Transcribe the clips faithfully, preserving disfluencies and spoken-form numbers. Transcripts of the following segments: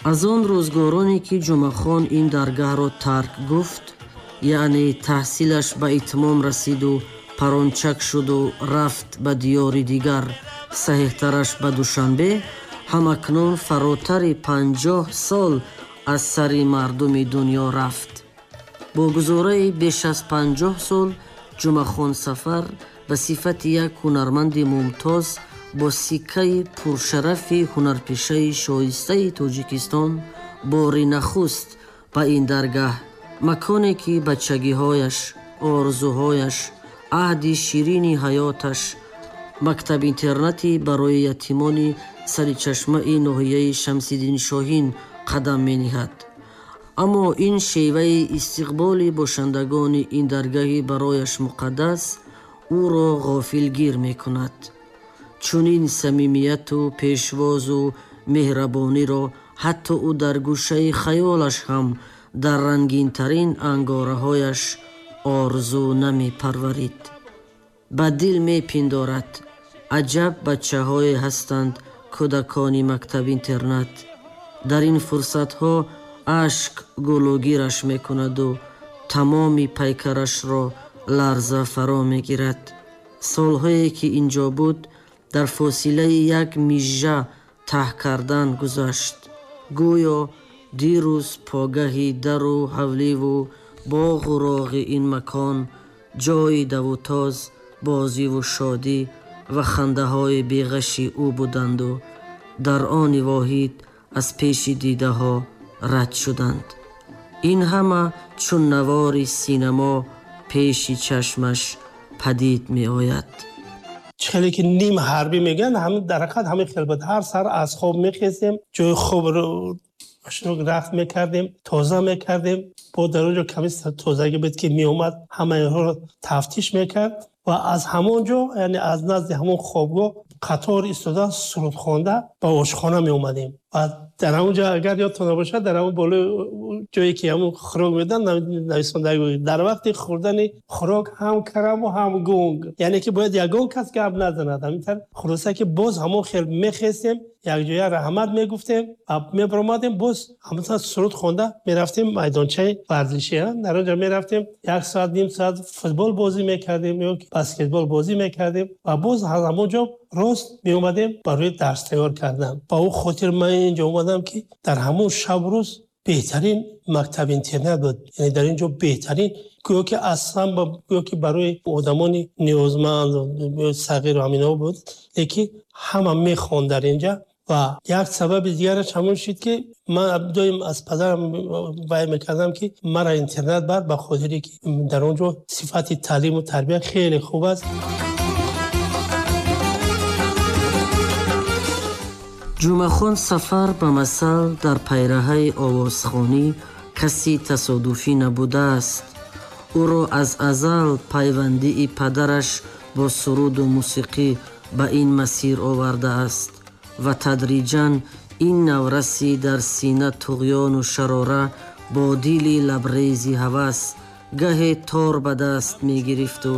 Аз он рӯзгороне ки Ҷумъахон ин даргаҳро тарк гуфт, яъне таҳсилаш ба итмом расиду парончак шуду рафт ба диёри дигар, саҳеҳтараш ба Душанбе, ҳамакнун фаротари панҷоҳ сол аз сари мардуми дунё рафт. Бо гузораи беш аз панҷоҳ сол Ҷумъахон Сафар ба сифати як ҳунарманди мумтоз бо сиккаи пуршарафи ҳунарпешаи шоистаи Тоҷикистон бори нахуст ба ин даргаҳ, маконе ки бачагиҳояш, орзуҳояш, аҳди ширини ҳаёташ, мактаб-интернати барои ятимони сари чашмаи ноҳияи Шамсиддин Шоҳин қадам мениҳад. Аммо ин шеваи истиқболи бошандагони ин даргаҳи барояш муқаддас ӯро ғофилгир мекунад. Чунин самимияту пешвозу меҳрабониро ҳатто ӯ дар гӯшаи хаёлаш ҳам дар рангинтарин ангораҳояш орзу намепарварид. Ба дил мепиндорад: аҷаб бачаҳое ҳастанд кӯдакони мактаб-интернат. Дар ин фурсатҳо ашк гулӯгираш мекунаду тамоми пайкарашро ларза фаро мегирад. Солҳое ки инҷо буд, дар фосилаи як мижжа таҳ кардан гузашт. Гӯё дирӯз погаҳи дару ҳавливу боғу роғи ин макон ҷойи давутоз, бозиву шодӣ ва хандаҳои беғаши ӯ буданду дар они воҳид аз пеши дидаҳо рад шуданд. Ин ҳама чун навори синамо пеши чашмаш падид меояд. Хеле ки ним ҳарбӣ мегӯянд, ҳамин дар ҳақиқат ҳамин хел буд. Ҳар сар аз хоб мехестем, ҷои хобро хушнук рафт мекардем, тоза мекардем. Бо дар он ҷо каме тозагӣ буд ки меомад, ҳамаи инҳоро тафтиш мекард ва аз ҳамон ҷо, яъне аз назди ҳамон хобгоҳ қатор истода суруд хонда ба ошхона меомадем. Ва дар ҳамон ҷо, агар ёдтон набошад, дар ҳамон болои ҷое ки ҳамон хӯрок медоданд, нависонда дар вақти хӯрдани хӯрок ҳам караму ҳам гунг, яъне ки бояд ягон кас гап назанад. Ҳаминтар хулоса ки боз ҳамон хел мехестем, якҷоя раҳмат мегуфтем ва мебаромадем, боз ҳамонтар суруд хонда мерафтем майдончаи варзишӣ. Дар он ҷо мерафтем, як соат, ним соат футбол бозӣ мекардем ё баскетбол бозӣ мекардем ва боз аз ҳамон ҷо рост меомадем барои дарс тайёр кардан. Ба он хотир ман инҷо омадам ки дар ҳамон шабу рӯз беҳтарин мактаб-интернат буд. Яъне дар ин ҷо беҳтарин, гӯё ки аслан гӯё ки барои одамони ниёзманд, сағиру ҳаминҳо буд, лекин ҳама мехонд дар инҷа. Ва як сабаби дигараш ҳамон шуд ки ман доим аз падарам вай мекардам ки маро интернат бар, ба хотире ки дар он ҷо сифати таълиму тарбия хеле хуб аст. Ҷумъахон Сафар ба масал дар пайраҳаи овозхонӣ каси тасодуфӣ набудааст. Ӯро аз азал пайвандии падараш бо суруду мусиқӣ ба ин масир овардааст ва тадриҷан ин навраси дар сина туғёну шарора бо дили лабрези ҳавас гаҳе тор ба даст мегирифту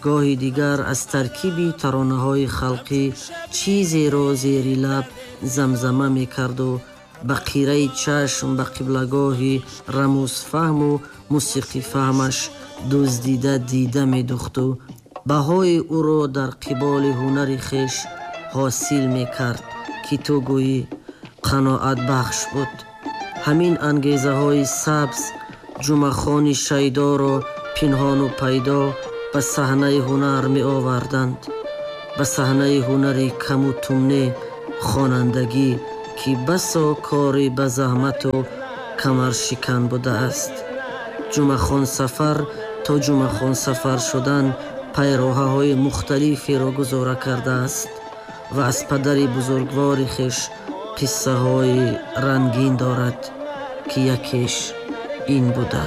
гоҳи дигар аз таркиби таронаҳои халқӣ чизеро зери лаб замзама мекарду ба қираи чашм ба қиблагоҳи рамузфаҳму мусиқифаҳмаш дуздида дида медухту баҳои ӯро дар қиболи ҳунари хеш ҳосил мекард ки ту гӯӣ қаноатбахш буд. Ҳамин ангезаҳои сабз Ҷумъахони шайдоро пинҳону пайдо ба саҳнаи ҳунар меоварданд, ба саҳнаи ҳунари каму тумне хонандагӣ ки басо кори ба заҳмату камаршикан будааст. Ҷумъахон Сафар то Ҷумъахон Сафар шудан пайроҳаҳои мухталиферо гузора кардааст ва аз падари бузургвори хеш қиссаҳои рангин дорад ки якеш ин буда.